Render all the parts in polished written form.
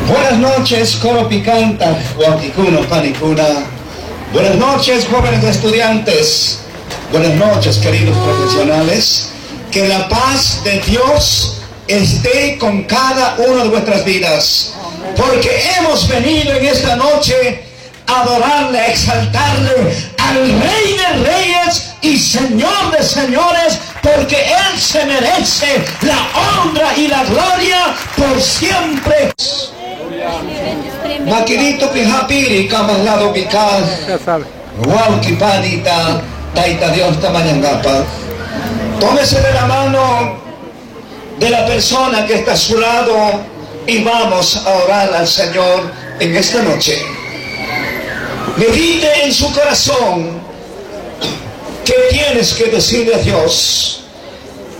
Buenas noches, coro picanta, huauquicuna, panicuna. Buenas noches, jóvenes estudiantes. Buenas noches, queridos profesionales. Que la paz de Dios esté con cada una de vuestras vidas. Porque hemos venido en esta noche a adorarle, a exaltarle al Rey de Reyes y Señor de Señores, porque Él se merece la honra y la gloria por siempre. Maquinito pijapiri, lado pical, Huauqui panita, taita Dios tamañangapa. Tómese de la mano de la persona que está a su lado y vamos a orar al Señor en esta noche. Medite en su corazón qué tienes que decirle a Dios,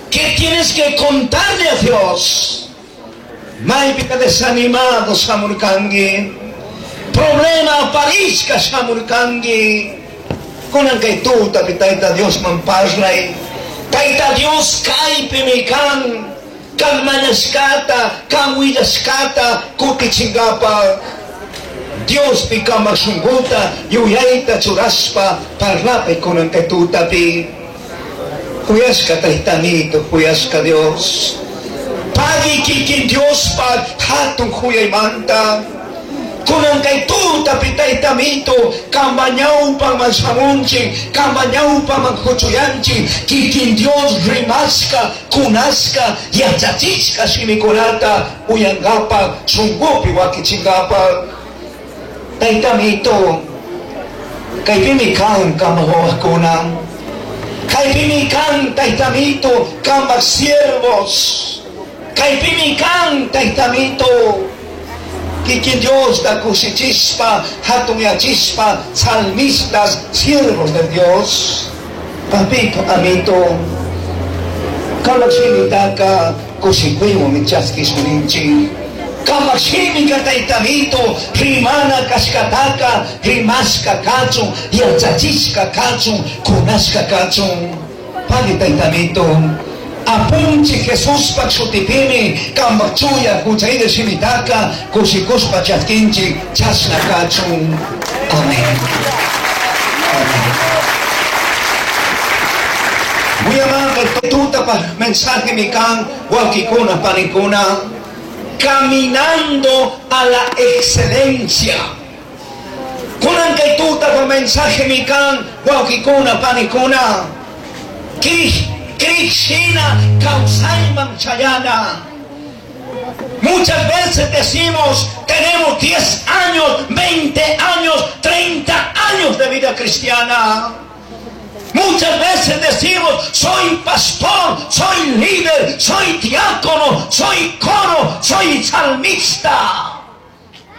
qué tienes que contarle a Dios. Maypika desanimado shamurkanki. Problema aparishka shamurkanki. Kunan kay tutapi Tayta Diosman parlay. Tayta Dios kaypimi kan. Kan mañashkata, kan willashkata kutichinkapaq. Diospi kamak shunkuta yuyayta churashpa parlapay kunan kay tutapi. Kuyashka Taytanito, kuyashka Dios. Pagui kikin Diospaq hatun kuyaymanta. Kunan kay tutapi Taytamito, kampak ñawpaman shamunchik, kampak ñawpaman kuchuyanchik, kikin Dios rimashka, kunashka, yachachishka shimikunata uyankapaq, shunkupi wakichinkapaq. Taytamito, kaypimi kan kampak wawakuna. Kaypimi kan Taytamito, kampak siervos. Kaypimi kan Taytamito. Kikin Diosta kushichishpa, hatunyachishpa, salmistas, siervos de Dios. Papito, amito, kamak shimitaka kushikuywanmi chaskishunchik. Kamak shimika Taytamito, rimana kashkataka, rimashka kachun, yachachishka kachun, kunashka kachun. Pagui Taytamito, Apunchik Jesuspak shutipimi, kampak chuya huchaylla shimitaka, kushikushpa chaskinchik, chashna kachun. Amén. Amén. Muy amable, tuta mensaje mi kan, huauquicuna, panicuna, caminando a la excelencia. Kunan kay tuta pa mensaje mi kan, huauquicuna, panicuna, Krishina kawsayman chayana. Muchas veces decimos, tenemos 10 años, 20 años, 30 años de vida cristiana. Muchas veces decimos, soy pastor, soy líder, soy diácono, soy coro, soy salmista.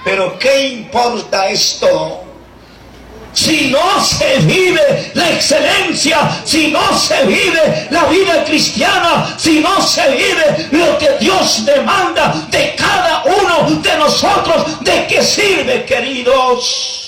Pero ¿qué importa esto? Si no se vive la excelencia, si no se vive la vida cristiana, si no se vive lo que Dios demanda de cada uno de nosotros, ¿de qué sirve, queridos?